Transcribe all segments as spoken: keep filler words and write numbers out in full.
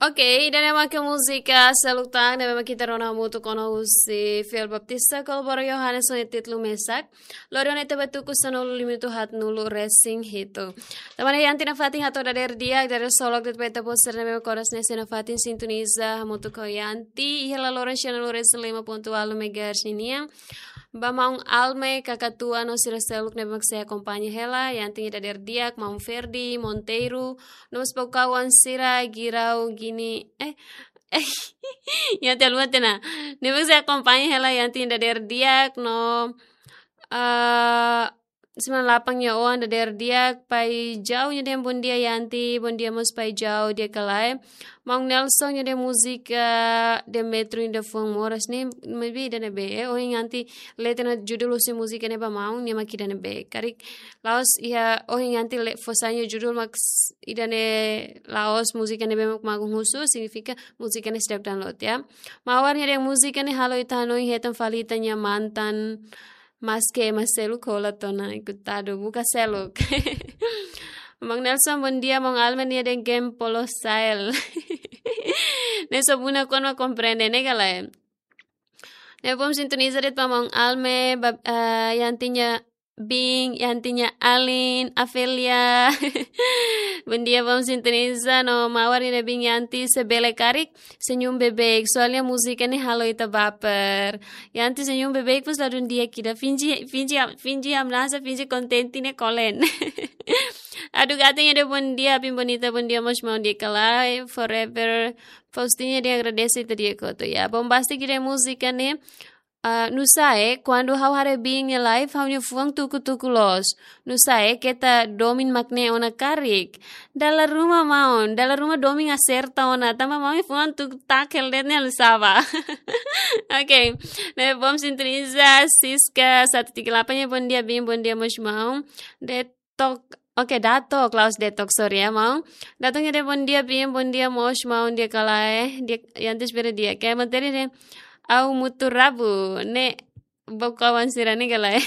Ok, ida-ne'e mak múzika seluk tan ne'ebé mak ita rona hamutuk ona husi Fiel Baptista, kolabora Yohanes ho títulu Mesak. Loron ne'e tebe tuku sanulu lima haatnulu resin hitu. Tanba ne'e Yanti nafatin hato'o dadeer di'ak, dadeer solok de'it ba ita-boot sira ne'ebé mak oras ne'e sei nafatin sintoniza hamutuk ho Yanti iha laloran sianulu resin lima pontu ualu megahertz ninian. Ba maun Alme, Kakatua no sira seluk ne'ebé mak sei akompaña hela Yanti nia dadeer di'ak, maun Ferdi Monteiro, no mós ba kawan sira Girau Gini, eh, eh, Yanti haluha tiha ona. Ne'ebé mak sei akompaña hela Yanti nia dadeer di'ak no, ah, Semana Lapang nia oan dadeer di'ak, Pai Jau nia dehan bondia Yanti, bondia mós Pai Jau, di'ak ka lae. Maun Nelson nia dehan múzika Demetrio nia fuan moras ne'e, maybe ida ne'ebé, eh, ohin Yanti lee tiha ona judul husi múzika ne'e ba maun, nia mak ida ne'ebé. Karik la'ós iha ohin Yanti lee fó sai nia judul mak s-, ida ne'e la'ós múzika ne'ebé mak maun husu, signifika múzika ne'e seidauk download, ya. Mawar nia dehan múzika ne'e halo ita hanoin hetan fali ita-nia mantan, maske ema seluk hola tiha ona, ikutadu, buka seluk. Maun Nelson, bondia, maun Alme nia dehan game polo sael. Ne'e só buna kuandu mak komprende, ne'e ka lae. Ne'e bom sintoniza de'it ba maun Alme, ba, eh, Yanti nia biin, Yanti nia alin, Afelia. Bondia, bom sintoniza, no mawar nia dehan biin Yanti se bele karik senyum beibeik, soalnya múzika ne'e halo ita baper. Yanti senyum beibeik, pas ladún di'ak ida, finji, finji, finji hamnasa, finji kontente ne'e kolen. Adu Gata nia dehan bondia, Apin Bonita, bondia mós maun, di'ak ka lae, forever. Faustina dehan agradese ita di'ak hotu, ya. Bombastic nia dehan múzika ne'e, ah, nusá, eh, kuandu ha'u haree biin nia live, ha'u-nia fuan tuku-tuku loos. Nusá, eh, keta domin mak ne'e ona karik. Dala ruma maun, dala ruma domin aserta ona, tanba maun nia fuan tuku tak hela de'it ne'e, halo saba. Ok, ne'e bom sintoniza, Siska satu tiga delapan nia bondia biin, bondia mós maun. Detok, ok, Datok, la'ós Detok, sorry ya, maun. Datok nia dehan bondia biin, bondia mós maun, di'ak ka lae, di'ak, Yanti espera di'ak, ke materi ne'e, Au Mutu Rabu, ne'e ba kawan sira ne'e ka lae.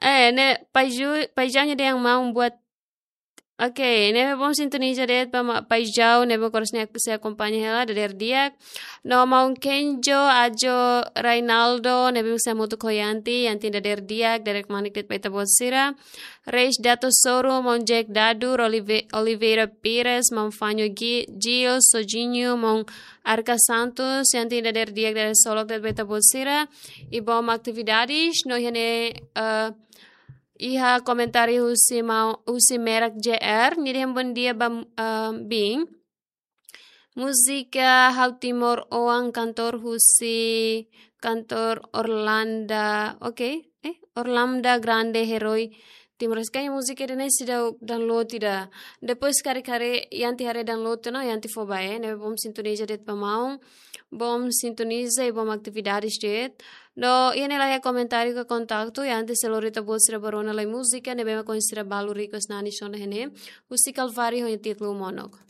Eh, ne'e Pai Ju-, Pai Jau nia dehan maun buat. Ok, ne'ebé bom sintoniza de'it ba ma-, Pai Jau, ne'ebé mak oras ne'e sei akompaña hela dadeer di'ak. No maun Kenjo, Ajo, Rainaldo, ne'ebé mak sei hamutuk ho Yanti, Yanti nia dadeer di'ak, dadeer kmanek de'it ba ita-boot sira. Reis Dato Soro, maun Jack Dadu, Olive-, Oliveira Pires, maun Fanho Gi-, Gil, Sojinho, maun Arca Santos, Yanti nia dadeer di'ak, dadeer solok de'it ba ita-boot sira. I bom atividades, no iha ne'e, eh, iha komentáriu husi maun, husi Merak J R, nia dehan bondia ba, eh, biin. Múzika Ha'u Timoroan, kantór husi, kantór Orlando, ok, eh, Orlando Grande, Heroi Timor-Leste. Kayaknya múzika ida-ne'e seidauk download ida. Depois karik haree, Yanti haree download tiha ona, Yanti fó ba, eh, ne'ebé bom sintoniza de'it ba maun. Bom sintoniza i bom atividades de'it. No iha ne'e laiha komentáriu ka kontaktu, Yanti sei lori ita-boot sira ba rona lai múzika ne'ebé mak ohin sira balu request nanis ona iha ne'e, husi Calvário ho nia títulu Monok.